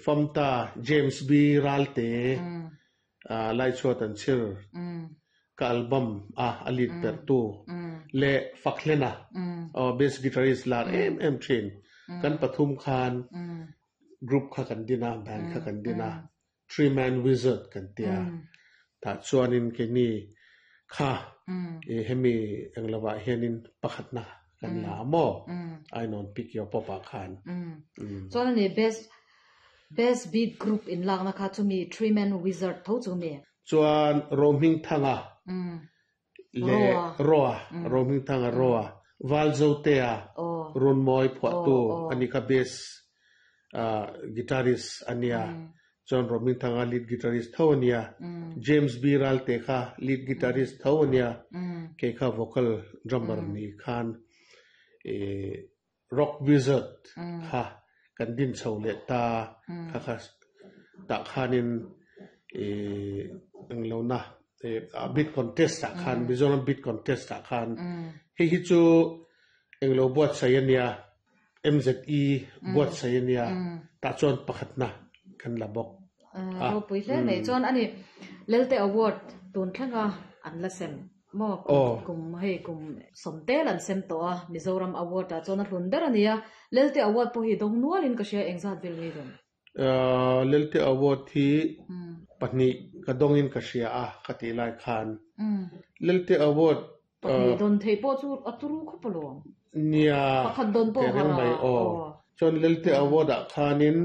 Famta James B Ralte Laichhuat an chhir ka album a a lead ber tu leh Fakhlena bass guitarist lar em em thin kan pathum khan group kha kan din a, band kha kan din a, Three Man Wizard kan tia. Tah chuanin keini kha hemi englovah hianin pakhatna kan la a maw? Ainawn Pick Your Pop ah khan. Chuan ani best best beat group inlakna kha chumi Three Man Wizard tho chu mi? Chuan Rohmingthanga leh Roa, Rohmingthanga Roa, Valzotea, Runmawi phuahtu a ni kha bass guitarist a nia, chuan Rohmingthanga lead guitarist tho a nia, James B Ralte kha lead guitarist tho a nia, kei kha vocal drummer ni khan Rock Wizard kha kan din chho leh ta kha kha tah khanin ih englo na ih bid contest ah khan Mizoram bid contest ah khan hei hi chu englo buatsaih a nia MZE buatsaih a nia tah chuan pakhatna kan la bawk a. Ropui hle mai chuan ani Lelte Award tun thlenga an la sem. Maw kum kum hei kum sawmtel an sem tawh a, Mizoram Award ah chuan a hlun ber a ni a, Lelte Award pawh hi dawng nualin ka hria engzat vel nge dawn? Lelte Award hi pahnih ka dawngin ka hria a ka tih lai khan Lelte Award Pahnih dawn theih pawh chu a turu khawp alawm. Nia Pakhat dawn pawh kei reng mai aw. Chuan Lelte Award ah khanin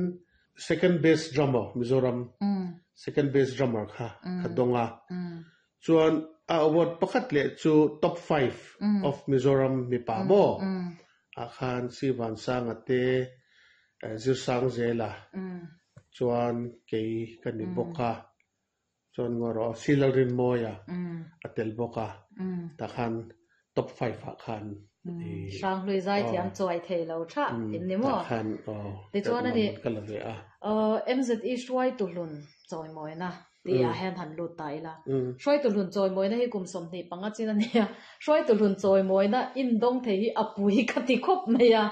Second Best Drummer Mizoram Second Best Drummer kha ka dawng a, Chuan a award pakhat leh chu top 5 of Mizoram mipa maw ah khan Si Vansanga te Zirsangzela chuan kei ka ni bawk a, chuan ngaw rawh Si Lalrinmawia a tel bawk a, tah khan top 5 ah khan Hranghlui zaithiam chuai thei lo tha in ni maw? Tah khan aw Tichuan ani ka la ve a. MZE hruaitu hlun chawimawina Tih ah hian han lut ta ila. Hruaitu hlun chawimawina hi kum 25 chin a nia. Hruaitu hlun chawimawina indawng thei hi a pui ka ti khawp mai a.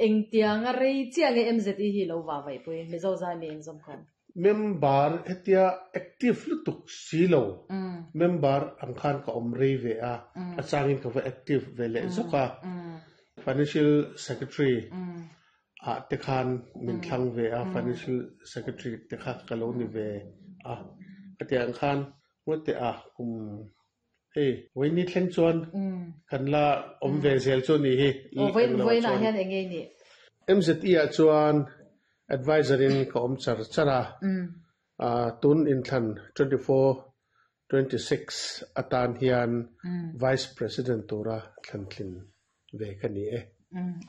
Engtianga rei chiah nge MZE hi lo va vaihpui Mizo zai mi inzawm khawm? Member hetia active lutuk si lo member ang khan ka awm rei ve a, a changin ka va active ve leh zawk a. Financial Secretary ah te khan min thlang ve a, Financial Secretary te kha ka lo ni ve a, ka tih ang khan Ngawte ah kum hei vawiini thleng chuan kan la awm ve zel chu ni hi. Aw vawiin ah hian eng nge ni? MZE ah chuan Adviser in ka awm char char a, tun inthlan 24, 26 atan hian Vice President tura thlantlin ve ka ni e.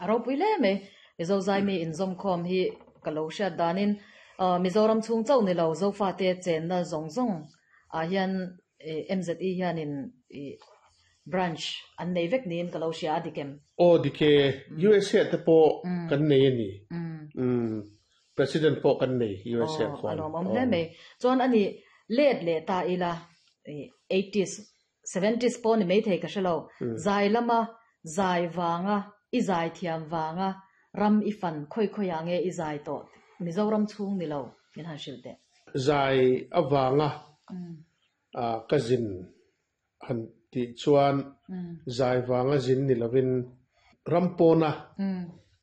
A ropui hle mai. Mizo Zaimi inzawmkhawm hi ka lo hriat danin Mizoram chhung chauh ni lo Zofate chenna zawng zawng ah hian MZE hianin branch an nei vek niin ka lo hria a dik em? Aw dik e, USA te pawh kan nei a ni. President pawh kan nei USA khuan. Aw a lawmawm hle mai. Chuan ani let leh ta ila eighties Seventies pawh ni maithei ka hre lo. Zai lama zai vanga i zai thiam vanga ram i fan khawi khawiah nge i zai tawh Mizoram chhung ni lo min han hrilh teh. Zai avanga ka zin han tih chuan zai vanga zin ni lovin ram pawna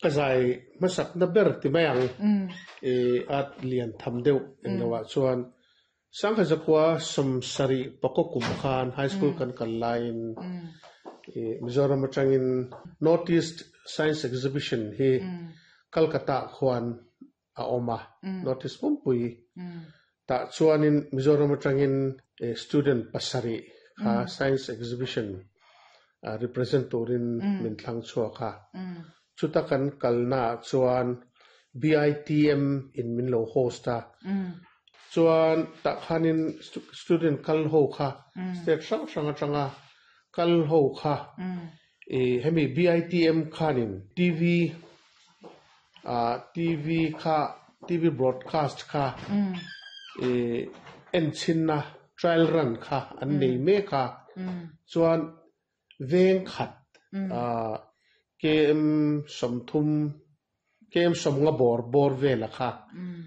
ka zai hmasakna ber ti mai ang i at lian tham deuh engloah chuan Sangha zakua 70 pakaw kum khan high school kan kal laiin Mizoram atangin North East Science Exhibition hi Calcutta ah khuan a awm a, North East pumpui tah chuanin Mizoram atangin student pasarih kha Science Exhibition represent turin min thlang chhuak a. Chuta kan kalna ah chuan BITM in min lo host a, chuan tah khanin student kal ho kha state hrang hrang atanga kal ho kha ih hemi BITM khanin TV ah TV kha TV broadcast kha ih enchhinna trial run kha an nei mek a, chuan Veng khat KM 30, KM 50 bawr bawr vela kha.